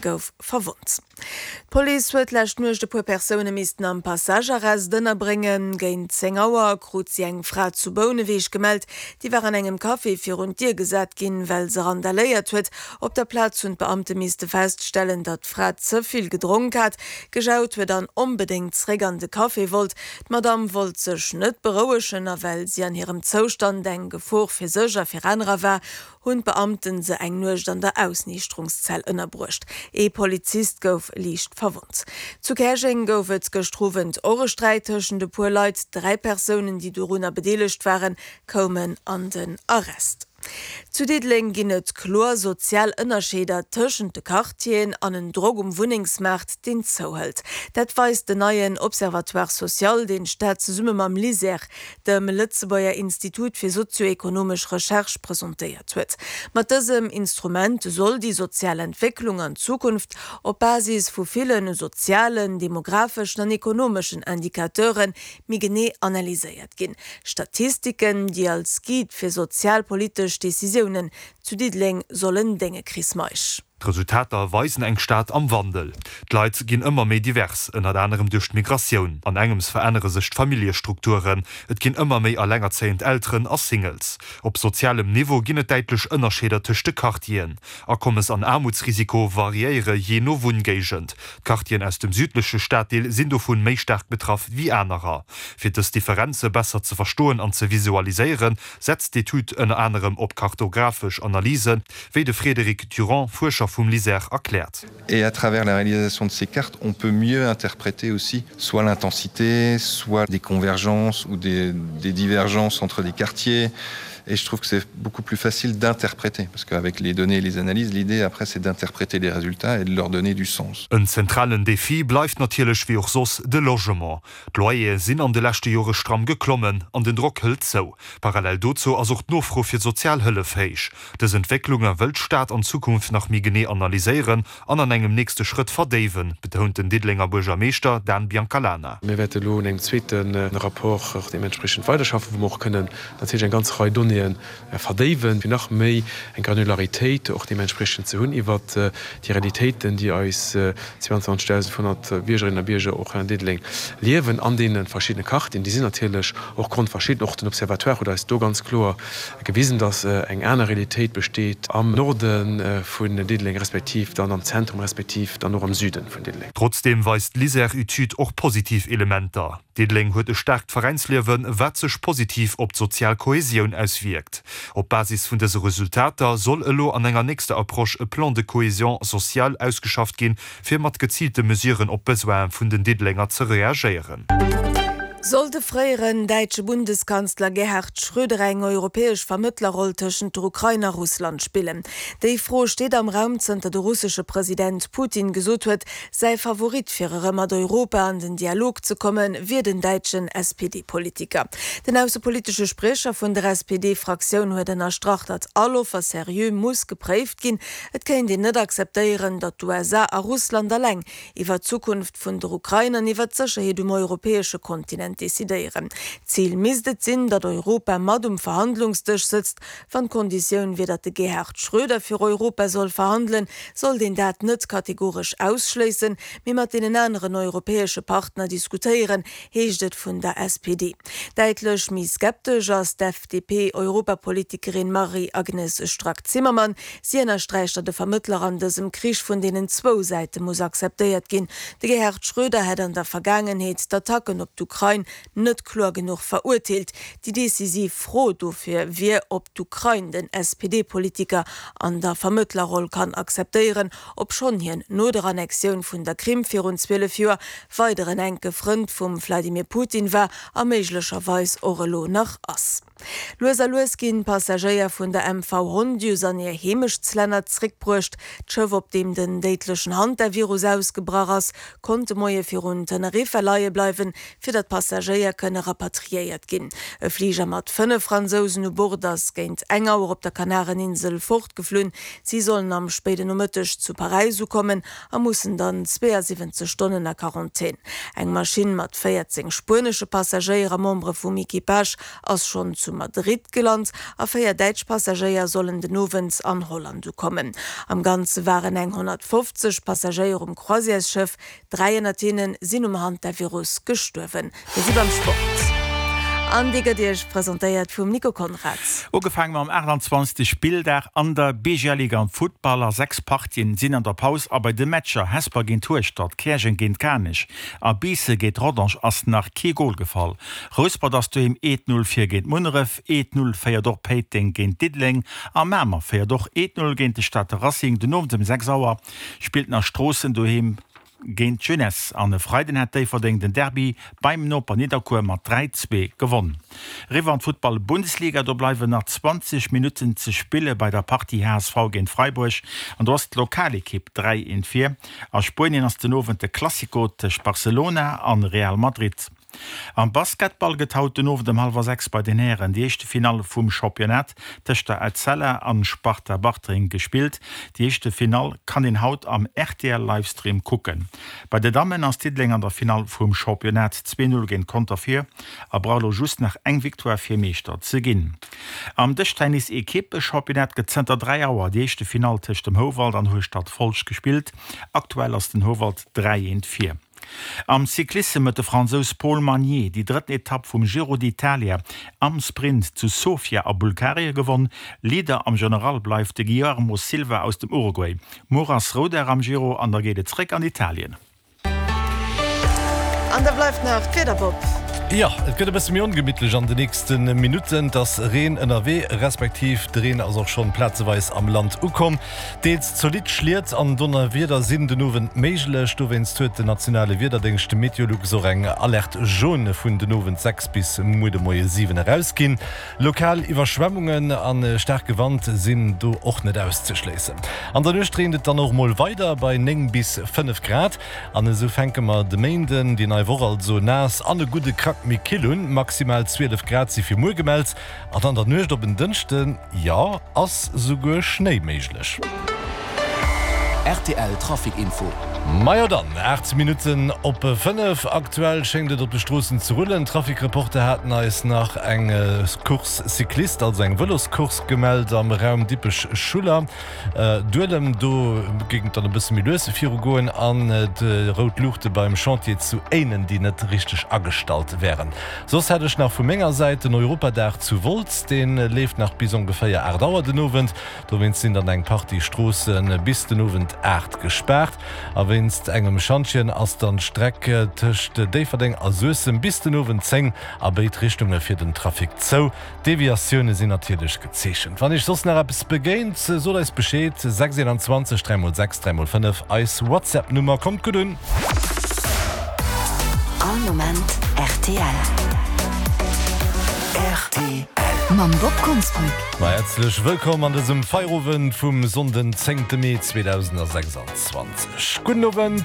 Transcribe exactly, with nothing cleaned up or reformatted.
gouf verwonnt. D'Police huet d'lescht Nuecht e puer Persoune missten am Passagearrest ënnerbréngen. Géint zéng Auer krut si eng Fra zu Bouneweg gemellt. Déi war an engem Café virun d'Dier gesat ginn, well se randaléiert huet. Op der Plaz hunn d'Beamte misste feststellen, datt d'Fra ze vill gedronk hat, gejaut huet an onbedéngt zeréck an de Café wollt. D'Madamm wollt sech net berouegen a well si an hirem Zoustand eng Gefor fir sech a fir anerer war, hunn d'Beamten se eng Nuecht an der Ausniichterungszell ënnerbruecht. Ee Polizist gouf liicht verwonnt. Zu Käerjeng gouf et gëschter Owend och e Sträit tëschent e puer Leit. Dräi Persounen, déi dorunner bedeelegt waren, koumen an den Arrest. Zu Diddeleng ginn et kloer sozial Ënnerscheeder tëschent de Quartieren an en Drock um Wunnengsmaart, deen zouhëlt. Dat weist den neien Observatoire social, deen d'Stad zesumme mam LISER, dem Lëtzebuerger Institut fir sozio-ekonomesch Recherche, presentéiert huet. Mat dësem Instrument soll déi sozial Entwécklung an Zukunft op Basis vu ville sozialen, demografeschen an ekonomeschen Indicateure méi genee analyséiert ginn. Statistiken, déi als Guide fir sozialpolitesch Decisiounen zu Diddeleng sollen dénge Chris Meisch. D'Resultater weisen eng Stad am Wandel. D'Leit ginn ëmmer méi divers, ënnert anerem duerch d'Migratioun. An engems verännere sech d'Familljestrukturen. Et ginn ëmmer méi elengerzéiend Elteren a Singles. Op sozialem Niveau ginn et däitlech Ënnerscheeder tëscht de Quartieren. Akommes an Aarmutsrisiko variéiere jee no Wunngéigend. D'Quartieren aus dem südleche Staddeel sinn dovun méi staark betraff wéi anerer. Fir dës Differenze besser ze verstoen an ze visualiséieren, setzt d'Etüd ënner anerem op kartografesch Analysen, wéi de Frédéric Durand, Fuerscher vum LISER, erkläert. Et à travers la réalisation de ces cartes, on peut mieux interpréter aussi soit l'intensité, soit des convergences ou des, des divergences entre des quartiers. Et je trouve que c'est beaucoup plus facile d'interpréter parce qu'avec les données et les analyses, l'idée après c'est d'interpréter les résultats et de leur donner du sens. En zentralen Defi bleift natierlech wéi och soss de Logement. D'Loyere sinn an de leschte Jore stramm geklommen an den Drock hëlt zou. Parallel dozou ass och d'Nofro fir Sozialhëllef héich. Dës Entwécklunge wëll d'Stad an Zukunft nach méi genee analyséieren an an engem nächste Schrëtt verdéiwen, betount den Diddelenger Buergermeeschter Dan Biancalana. Mir wäerte lo un engem zweete Rapport och deementspriechend weiderschaffen, wou mer och kënnen natierlech eng ganz Rei Donnéeë verdéiwen, fir nach méi eng Granularitéit och deementspriechend ze hunn iwwert déi Realitéiten, déi eis zweiundzwanzegdausendfënnfhonnert Biergerinnen a Bierger och an Diddeleng liewen an deene verschiddene Quartieren. Déi sinn natierlech och grondverschidden. Och den Observatoire huet eis do ganz kloer gewisen, dass eng aner Realitéit besteet am Norde vun Diddeleng respektiv dann am Zentrum respektiv dann och am Süden vun Diddeleng. Trotzdeem weist d'LISER-Etüd och positiv Elementer. Diddeleng huet e staarkt Veräinsliewen, wat sech positiv op d'sozial Kohäsioun auswierkt. Op Basis vun dëse Resultater soll elo an enger nächster Approche e Plan de cohésion sociale ausgeschafft ginn, fir mat geziilte Mesuren op d'Besoine vun den Diddelenger ze reagéieren. Soll de fréieren däitsche Bundeskanzler Gerhard Schröder eng europäesch Vermëttlerroll tëschent der Ukrain a Russland spillen? Déi Fro steet am Raum, zënter de russesche President Putin gesot huet, säi Favorit fir erëm mat Europa an den Dialog ze kommen, wier den däitschen S P D-Politiker. Den aussepolitesche Spriecher vun der S P D-Fraktioun huet ënnerstrach, datt all Offer seriö muss gepréift ginn. Et kéint een net akzeptéieren, datt d'U S A a Russland eleng iwwer d'Zukunft vun der Ukrain an iwwer d'Sécherheet um europäesche Kontinent decidéieren. Zil misst et sinn, datt Europa mat um Verhandlungsdësch sëtzt. Wann d'Konditioun wier, datt de Gerhard Schröder fir Europa soll verhandelen, sollt een dat net kategoresch ausschléissen, mee mat deenen aneren europäesche Partner diskutéieren, heescht et vun der S P D. Däitlech méi skeptesch ass d'F D P-Europapolitikerin Marie-Agnes Strack-Zimmermann. Si ënnersträicht, datt de Vermëttler an dësem Krich vun deenen zwou Säite muss akzeptéiert ginn. De Gerhard Schröder hätt an der Vergaangenheet d'Attacken op d'Ukrain net kloer genuch verurteelt. Déi decisiv Fro dofir wier, ob d'Ukrain den S P D-Politiker an der Vermëttlerroll kann akzeptéieren, obschonn hien no der Annexioun vun der Krim virun zwielef Joer weider en enke Frënd vum Wladimir Putin war a méiglecherweis och elo nach ass. Lues a lues ginn Passagéier vun der M V Hondius an hir Heemechtslänner zréckbruecht. D'Schëff, op deem den déidlechen Hantavirus ausgebrach ass, konnt de Moie virun Teneriffa leie bleiwen, fir datt Passagéier kënne rapatriéiert ginn. E Fliger mat fënnef Fransousen u Bord ass géint eng Auer op der Kanareninsel fortgeflunn. Si sollen am spéiden Nomëtteg zu Paräis ukommen a mussen dann zweeënsiwwenzeg Stonnen a Quarantän. Eng Maschinn mat véierzéng spuenesche Passagéier a Membere vum Equipage ass schonn zu zu Madrid gelant a véier däitsch Passagéier sollen den Owend an Holland ukommen. Am Ganze waren eng honnertfofzeg Passagéier um Croisièresschëff, dräi ënnert hinne sinn um Hantavirus gestuerwen. Mir si beim Sport an dee gëtt Iech presentéiert vum Nico Conrads. Ugefaange mam achtanzwanzegste Spilldag an der B G L Liga am Futtball. A sechs Partien sinn an der Paus a bei de Matcher Hesper géint Hueschtert, Käerjeng géint Kanech a Biissen géint Rodange ass nach kee Gol gefall. Rouspert ass doheem eent Null vir géint Munneref, eent Null féiert och Péiteng géint Diddeleng a Mamer féiert och eent Null géint de Stater Racing. Den Owend ëm sechs Auer spillt nach Stroossen doheem géint d'Jeunesse an e Freiden hat Déifferdeng den Derby beim Noper Nidderkuer mat dräi, zwee gewonn. Eriwwer an d'Futtball Bundesliga, do bleiwen nach zwanzeg Minutten ze spille bei der Partie H S V géint Freiburg an do ass d'Lokalekipp dräi, eent vir. A Spuenien ass den Owend de Clasico tëscht Barcelona an Real Madrid. Am Basketball gëtt haut den Owend ëm hallwer sechs bei den Hären déi éischte Finall vum Championnat tëscht der Etzella an Sparta Bartreng gespillt. Déi éischte Finall kann een haut am R T L Livestream kucken. Bei de Dammen ass Diddeleng an der Finall vum Championnat zwee Null géint Conter vir a brauch elo just nach eng Victoire fir Meeschter ze ginn. Am Dëschtennis Ekippe-Championnat gëtt zënter dräi Auer déi éischte Finall tëscht dem Houwald an Hueschtert Folscht gespillt. Aktuell ass den Houwald dräi eent vir. Am Cyclissem huet de Fransous Paul Magnier déi drëtten Etapp vum Giro d'Italia am Sprint zu Sofia a Bulgarie gewonn. Leader am General bleift de Guillermo Silva aus dem Uruguay. Muer ass Roudag am Giro an da geet et zréck an Italien. An da bleift nach d'Wieder, Bob. Jo, et gëtt e bësse méi ongemittlech an de nächste Minutten. Et ass Reen ënnerwee, respektiv de Reen ass och schonn plazeweis am Land ukomm. Deels zolidd Schliet an Donnerwieder sinn den Owend méiglech. Dowéinst huet den nationale Wiederdéngscht Meteolux och eng Alerte jaune vun den Owend sechs bis muer de Moie siwen erausginn. Lokal Iwwerschwemmungen a staarke Wand sinn do och net auszeschléissen. An der Nuecht reent et dann och mol weider bei néng bis fënnef Grad. An esou fänke mer de Méinden, déi nei Woch also, naass an e gudde Krack méi kill un. Maximal zwielef Grad si fir muer gemellt an an der Nuecht op en Dënschden, jo, ass souguer Schnéi méiglech. R T L Trafic Info. Majo dann, aacht Minutten op fënnef. Aktuell schéngt et op de Stroossen ze rullen. D'Trafic-Reporter haten eis nach eng Course cycliste, also eng Vëloscourse gemellt am Raum Dippech-Schuller Duelem. Do géing et dann e bësse méi lues virugoen an déi rout Luuchte beim Chantier zu Éinen, déi net richteg agestallt wären. Soss hätt ech nach vu menger Säit den Europadag zu Wolz, dee leeft nach bis ongeféier aacht Auer den Owend. Dowéinst sinn dann eng Partie Stroosse bis den Owend aacht gespaart. A wéinst engem Schantjen ass dann d'Streck tëscht Déifferdeng a Suessem bis den Owend zéng a béid Richtunge fir den Trafic zou. Deviatioune sinn natierlech gezeechent. Wann iech soss nach eppes begéint, sot eis Bescheed, sechs einundzwanzeg dräi mol sechs dräi mol fënnef, eis WhatsApp-Nummer. Kommt gutt un! All Moment R T L. R T L. Mam Bob Konsbrück. Ma häerzlech wëllkomm an dësem Feierowend vum Sonnden, zéngte Mee zweedausendsechsanzwanzeg. Gudden Owend.